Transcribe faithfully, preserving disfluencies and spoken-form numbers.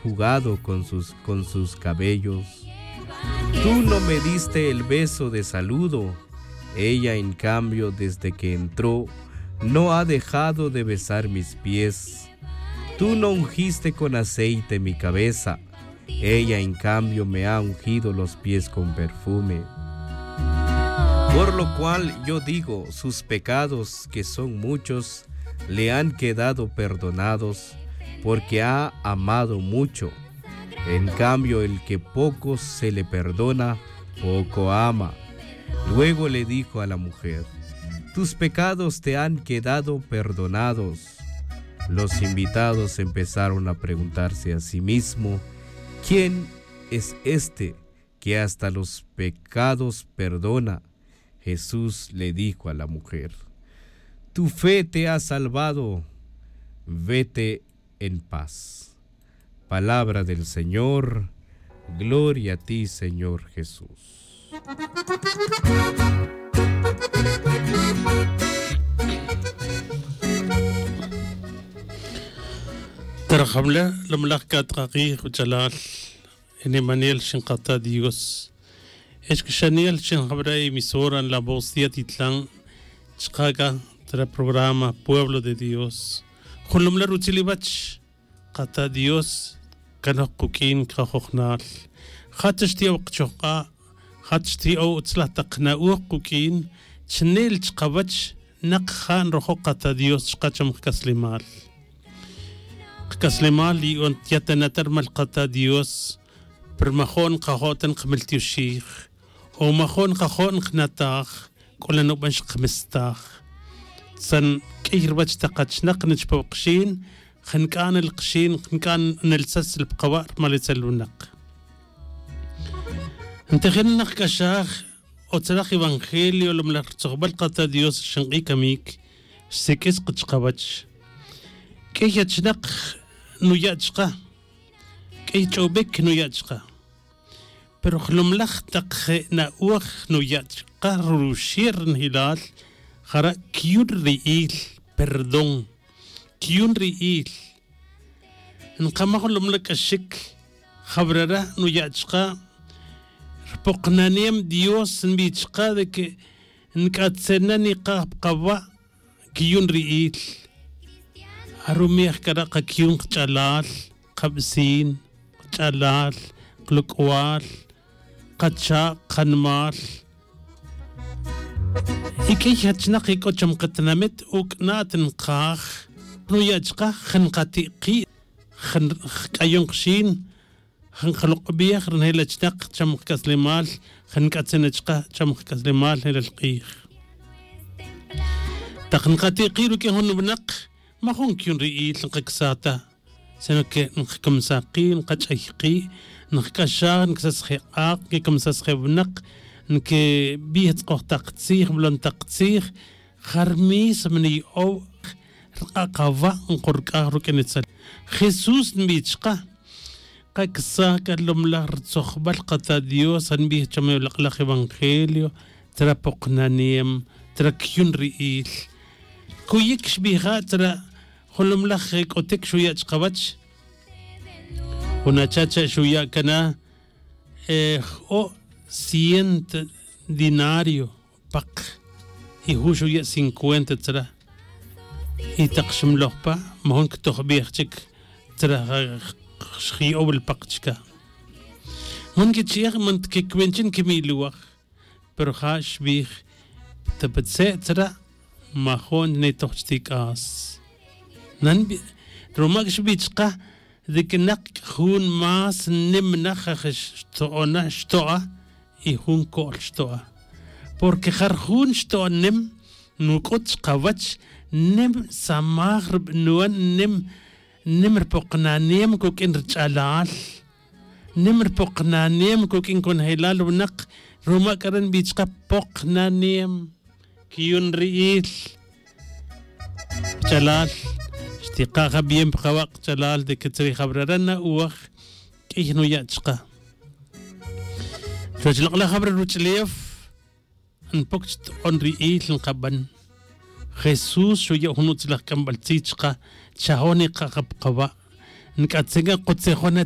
jugado con sus, con sus cabellos. Tú no me diste el beso de saludo. Ella, en cambio, desde que entró, no ha dejado de besar mis pies. Tú no ungiste con aceite mi cabeza. Ella, en cambio, me ha ungido los pies con perfume. Por lo cual yo digo, sus pecados, que son muchos, le han quedado perdonados, porque ha amado mucho. En cambio, el que poco se le perdona, poco ama. Luego le dijo a la mujer: tus pecados te han quedado perdonados. Los invitados empezaron a preguntarse a sí mismo: ¿quién es este que hasta los pecados perdona? Jesús le dijo a la mujer: tu fe te ha salvado, vete en paz. Palabra del Señor. Gloria a ti, Señor Jesús. Tarjamle, lomlaj katk'aqij, wach'alal, e nimanel xin kata' Dios. Ex k'axanel xin jab'ra' emisora La Voz de Atitlán, chqa' k'a tra programa Pueblo de Dios. Jun lomlaj rutzil iwach, kata' Dios kanoj quk'in kajojnal. Ja' ta xti'ow qachojq'a', ja' ta xti'ow utzlaj taq na'oj quk'in, chne'l chqawach naq ja' nrojo' kata' Dios chqa' cham qak'aslemal. Qak'aslemal li'on yatana' ta rmal kata' Dios, pero majo'n nqajo' ta nqamiltioxij, o majo'n nqajo' nqnataj, k'ola nub'an xqamestaj. Tzan k'iy ruwach taq qachnaq nchpow qxin, jank'a' nel qxin, jank'a' nel sasel pa qawa' rmal itzel winaq. Ntejen naq k'axaj, o tzalaj evangelio, lomlaj rtzojb'al kata' Dios, xinq'i' kamik, xsik'is qa chqawach. K'iy achnaq nuya' chqa, k'iy ch'ob'ik nuya' chqa. Pero jlomlaj taq je' na'oj nuya' chqa ruxi' ri njelal, jara' cuyun ri'il, perdón, cuyun ri'il. Nqamaj jlomlaj k'axik, jawrara' nuya' chqa, rpoqnanem Dios nb'i' chqa de que nk'atzena niqaj pa qawa', cuyun ri'il. Arumej cara' qacuyun qach'alal, qabecin, qach'alal, qalok'ual, qacha', qanimal. Y k'iy achnaq ik'o cham qatinamit, uuk' na ta nqaj, nuya' chqa, ja nqati' qi', ja nqk'ayon qxin, ja nqaloq'b'ej ri nejel achnaq cham qak'aslemal, ja nk'atzin chqa cham qak'aslemal nelal q'ij. Taq nqati' qi' ruk'in jun winaq, majun cuyun ri'il nqaksaj ta, sino que nqakamsaj qi', nqach'ay qi', nqak'axaj, nkesaj je' q'aq', nkekemsaj je' winaq, nkeb'ij tz'aqoj taq tzij, molon taq tzij, ja ri mismo niyo'ow rk'a' qawa' nqork'aj ruk'in itzel. Jesús nb'i' chqa, qakesaj k'a lomlaj rtzojb'al qata' Dios, ja nb'ij cham e lok'laj evangelio, tra poqnanem, tra cuyun ri'il. Kuyik xb'ija' tra jun lomlaj, eh, k'otik xuya' chqawach. Jun acha cha' xuya' cana, eh, j-o' cien denario paq, y jun xuya' cincuenta tzra. Y taq xmloj pa, majun ctojbej chic tzra, ja, xji'ow li paq chica. Man quichi'ej, man ta quicuin chin quimi'luwaj. Pero ja xbij, ta pa tze' tzra, majun nitoj chti' c'as. Nan bi-, ruma xbij chka, de que nak jun más nim na, ja xto'ona, xto'a, y jun co'l xto'a. Porque ja ri jun xto'a nim, nuc'ut chkawach, nim samaj ri bnuan, nim, nim ri poknanem cuq'uin ri ch'alal. Nim ri poknanem cuq'uin conjelal winak, ruma c'ara' nbij chka poknanem. Quiyun ri'il. Ch'alal, xtika' ja bien pa kawa' kach'alal de que tzrij jawrara' na'oj, q'uiy nuya' chka. Chuwech lok'laj jawra ruwach'ulew, npoc chto'on ri'il nkaban. Jesús xuya' jun utzilaj c'ambal tzij chka, chajon nikaja pa kawa'. Nc'atzin c'a kotzejon na